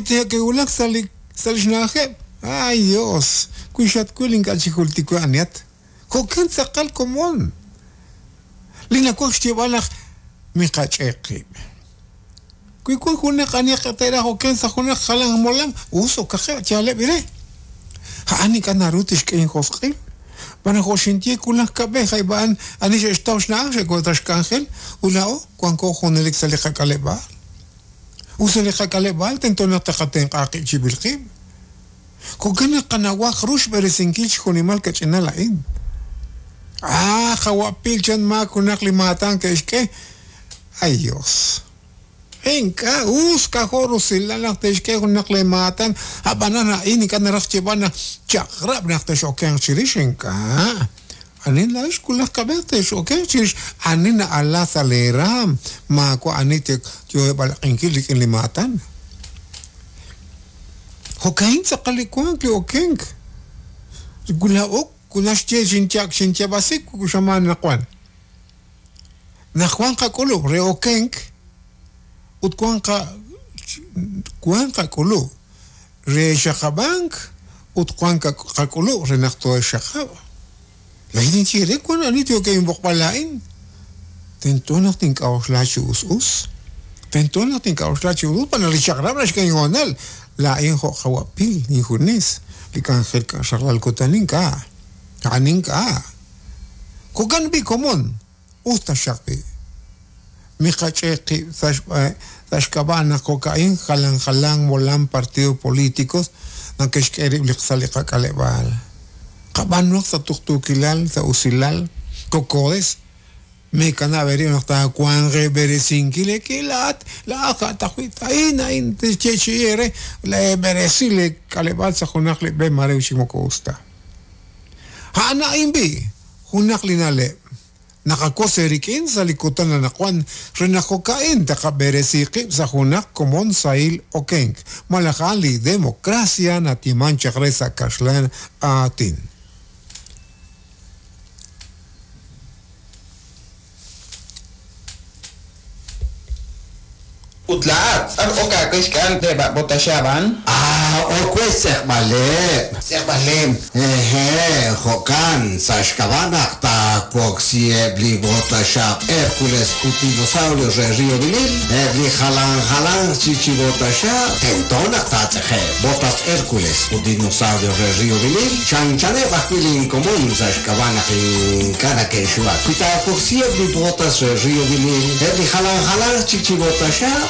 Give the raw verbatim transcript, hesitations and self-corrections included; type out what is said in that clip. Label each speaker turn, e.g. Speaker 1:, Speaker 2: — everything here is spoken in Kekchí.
Speaker 1: ke'wulak sa' li sa' li xna'ajeb'. Ay Dios, wi xatwil ink'a' chi jultik we anihat. Jo'kan tz'aqal komon. Li nawaj xyeeb'al naq miqach'e' qib'. Wi wan junaq anihaq te'raj oken sa' junaq jalan molam, us okaqeb' yaaleb' ire. A'an ink'a' naru tixk'e injosq'il. B'an jo' xinye wulaj kab'ej ayb'a'an ani xe'xtaw xna'aj xe'k'oxla xk'anjel ut laa'o wanko junelik sa' li qak'aleb'aal. Ut sa' li qak'aleb'aal tento naq taqatenq'a qib' chib'il qib'. Jo'kan naq qanawaj ru xb'eresinkil xjunimal kach'inal a'in. Ah, qawapil chan maak junaq li maatan ke'xk'e. Ay Dios. Ink'a' us k'ajo' rusilal naq te'xk'e junaq li maatan ab'anan a'in ink'a' naraj xyeeb'al naq chaq'rab' naq tex'okenq chirix ink'a'. Ani laa'ex wulaj kab'ej tex'okenq chirix ani na'ala sa' leeraam maawa' ani yo'eb'alaq'inkil rik'in li maatan. Jo'ka'in tz'aqal li wank li okenk. Laa'o naxye xinchak xinyab'asik xamaan naq wan. Naq wan qak'ulub' re okenk ut wan qa wan qak'ulub' re xaqab'ank ut wan qak'ulub' re naq tooxaqab'. Laa'in ninye re wan ani yookeb' laa'in. Tento naq tink'a'uxla chi us us. Tento naq tink'a'uxla chi us us b'an li chaq'rab' naxk'e inhoonal. Laa'in jo' qawapil injunes li k'anjel xaqlal kutan ink'a'. A'an ink'a'. Jo'kan b'i komon us taxaq b'i. Miqach'e' qib' sa' xk'ab'a' naq jo'ka'in jalan jalan molam partidos políticos nake'xk'e rib' li sa' li qak'aleb'aal. Qab'anuaq sa' tuqtuukilal sa' usilal kokodes mekanab' eerib' naq taawanq b'eresinkil laa'at laa'at ja'taqwi' a'in a'in tixyeechi'i eere leeb'eresi li k'aleb'aal sa' junaq li b'e mare chi moko us ta. A'an a'in b'i junaq li na'leb' naqakos eerik'in sa' li kutan anaqwan re naq jo'ka'in taqab'eresi qib' sa' junaq komon sahil okenk malaj a'an li democracia natiman chaq re sa' kaxlan aatin.
Speaker 2: Ut laa'at ar ok aawe xk'al eb' botaxab'an.
Speaker 3: Ah, ok we xtz'eqb'aleb'.
Speaker 2: Tz'eqb'aleb'.
Speaker 3: Eje, jo'kan sa' xk'ab'a' naq taawoksi eb' li botaxab' Hércules ut dinosaurios re Río Vinil, eb' li jalan jalan chi chi botaxab' tento naq taatz'ejeb'. Botas Hércules ut dinosaurios re Río Vinil, chanchaneb' ajwi' linkomon sa' xk'ab'a' naq ink'a' nake'xuwak. Wi taawoksi eb' li botas re Río Vinil, eb' li jalan jalan chi chi botaxab'